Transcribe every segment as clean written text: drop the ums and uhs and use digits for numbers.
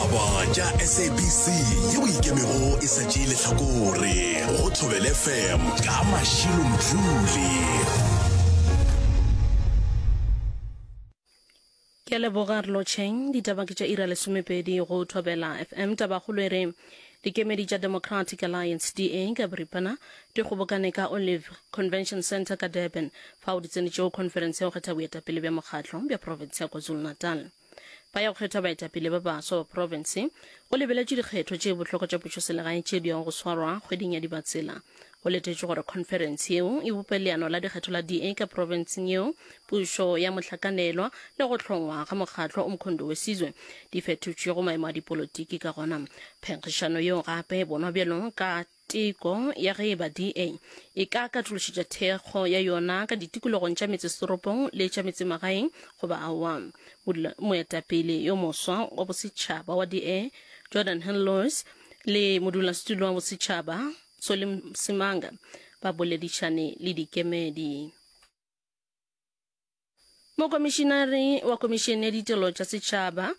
Ditaba tša SABC yeo ikemego e sa tšee lehlakore go Thobela FM ka Mashilo Mdluli. Ke a leboga re lotšheng. Ditaba ke tša ira lesomepedi go Thobela FM. Tabakgolo e re dikemedi tša Democratic Alliance, DA, ka boripana di kgobokane ka Olive Convention Centre ka Durban fao di tsenetšego khonferense ya go kgetha boetapele bja mokgatlo bja profense ya KwaZulu-Natal. Ba ya go kgetha baetapele ba baswa ba profense go lebeletšwe dikgetho tše bohlokwa tša pušoselegae tše di yago go swarwa kgweding ya Dibatsela. Go letetšwe gore khonferense yeo e bope leano la dikgetho la DA ka profenseng yeo, pušo ya mohlakanelwa le go hlongwa ga mokgatlo Umkhonto we Sizwe di fetotšwego maemo a dipolotiki ka gona. Phenkgišano yeo gape e bonwa bjalo ka Teko ya ge e ba DA e ka katološetša thekgo ya yona ka ditikologong tša metsesetoropong le tša metsemagaeng goba aowa. Moetapele yo moswa wa bosetšhaba wa DA, Jordan Hill-Lewis, le modulasetulo wa bosetšhaba, Solly Msimanga, ba boledišane le dikemedi. Mokomišinare wa Komišene ya Ditelo tša Setšhaba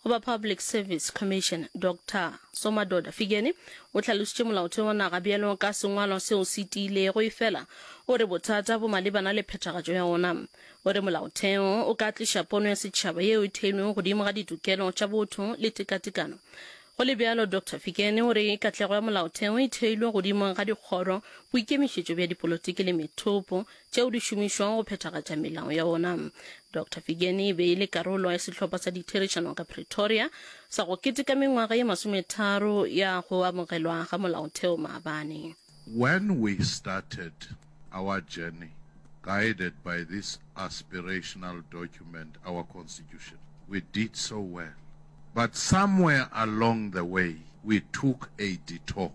goba Public Service Commission, Doctor Somadoda Fikeni, o hlalositše molaotheo wa naga bjalo ka sengwalwa seo se tiilego efela o re bothata bo malebana le phethagatšo ya ona. O re molaotheo o ka tliša pono ya setšhaba yeo e theilwego godimo ga ditokelo tša botho le tekatekano. Go le bjalo, Doctor Fikeni o re katlego ya molaotheo e theilwe godimo ga dikgoro, boikemišetšo bja dipolotiki le methopo tšeo di šomišwago go phethagatša melao ya ona. Dr Figeni e be e le karolo ya sehlopha sa ditherišano ka Pretoria sa go keteka mengwaga ye masometharo ya go amogelwa ga molaotheo maabane. When we started our journey guided by this aspirational document, our Constitution, we did so well. But somewhere along the way, we took a detour.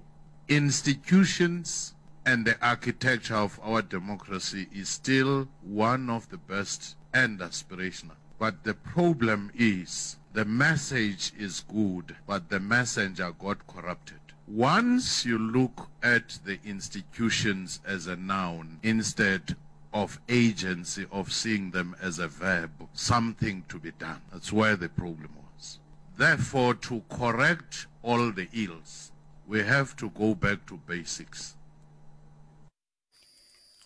Institutions and the architecture of our democracy is still one of the best and aspirational. But the problem is the message is good, but the messenger got corrupted. Once you look at the institutions as a noun instead of agency of seeing them as a verb, something to be done. That's where the problem was. Therefore, to correct all the ills, We have to go back to basics.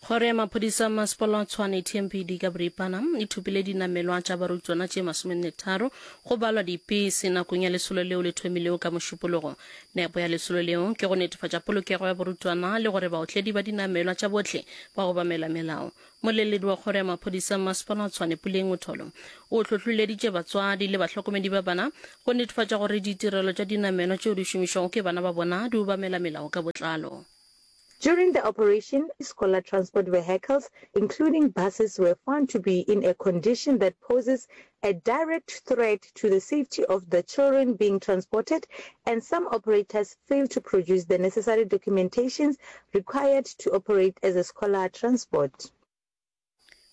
Kgoro ya maphodisa a masepala wa Tshwane TMPD ka boripana e thopile dinamelwa tša barutwana tše masomennetharo go balwa dipese nakong ya lesolo leo le thomilego ka Mošupologo. Nepo ya lesolo leo ke go netefatša polokego ya barutwana le gore baotledi ba dinamelwa tša bohle ba obamela melao. Moleledi wa kgoro ya maphodisa Mmasepala wa Tshwane Puleng Motholo o hlohloleditše batswadi le bahlokomedi ba bana go netefatša gore ditirelo tša dinamelwa tšeo di šomišwago ke bana ba bona di obamela melao ka botlalo. During the operation, scholar transport vehicles, including buses, were found to be in a condition that poses a direct threat to the safety of the children being transported and some operators failed to produce the necessary documentations required to operate as a scholar transport.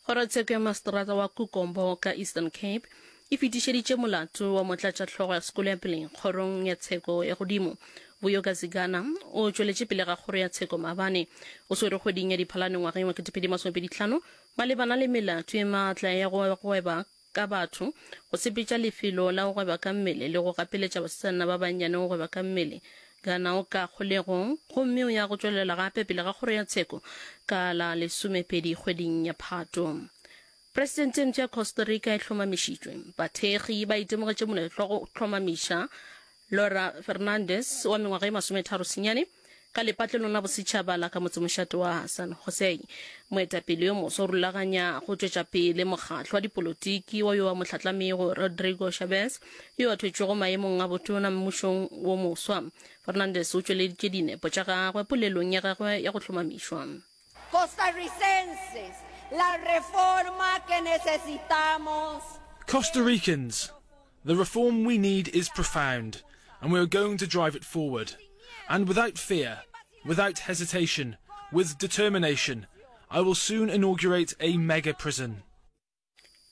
Kgorotsheko ya Maseterata wa Kukombo ka Eastern Cape e fetišeditše molato wa motlatšahlogo ya sekolo ya peleng kgorong ya tsheko ya godimo. Vuyo Kazigana o tšweletše pele ga kgoro ya tsheko maabane. O swerwe kgweding ya Diphalane ngwageng wa 2025 malebana le melato e maatla ya go gweba ka batho, go sepetša lefelo la go gweba ka mmele le go gapeletša basetsana ba bannyane go gweba ka mmele. Gana o ka kgolegong gomme o ya go tšwelela gape pele ga kgoro ya tsheko ka la lesomepedi kgweding ya Phato. Presidente e mpsha ya Costa Rica e hlomamišitšwe. Bathekgi ba itemogetše moletlo wa go hlomamiša Laura Fernandez wa mengwaga e masometharo senyane ka lepatlelong la bosetšhaba la ka motsemošate wa San Jose. Moetapele yo moswa o rulaganya go tšwetša pele mokgatlo wa dipolotiki wa yo a mo hlatlamego Rodrigo Chaves yo a thwetšwego maemong a botona mmušong wo moswa. Fernandez o tšweleditše dinepo tša gagwe polelong ya gagwe ya go hlomamišwa. Costarricenses, la reforma que necesitamos. Costa Ricans, the reform we need is profound, and we are going to drive it forward. And without fear, without hesitation, with determination, I will soon inaugurate a mega prison.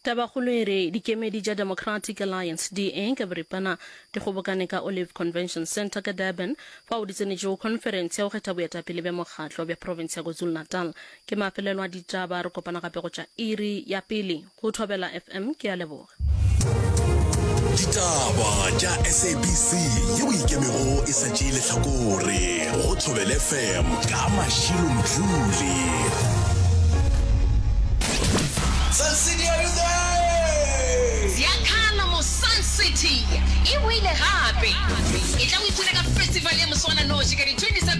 Tabakgolo e re dikemedi tša Democratic Alliance, DA, ka boripana di kgobokane ka Olive Convention Centre ka Durban fao di tsenetšego khonferense ya go kgetha boetapele bja mokgatlo bja profense ya KwaZulu-Natal. Ke mafelelo a ditaba, re kopana gape go tša iri ya pele go Thobela FM. Ke a leboga. Ditaba tša SABC yeo e ikemego e sa tšee lehlakore go Thobela FM ka Mashilo Mdluli. Sun City, are you there? Ziakhala mo Sun City e boile gape. Etla o ipshine ka festival ya moswananoši ka di 27.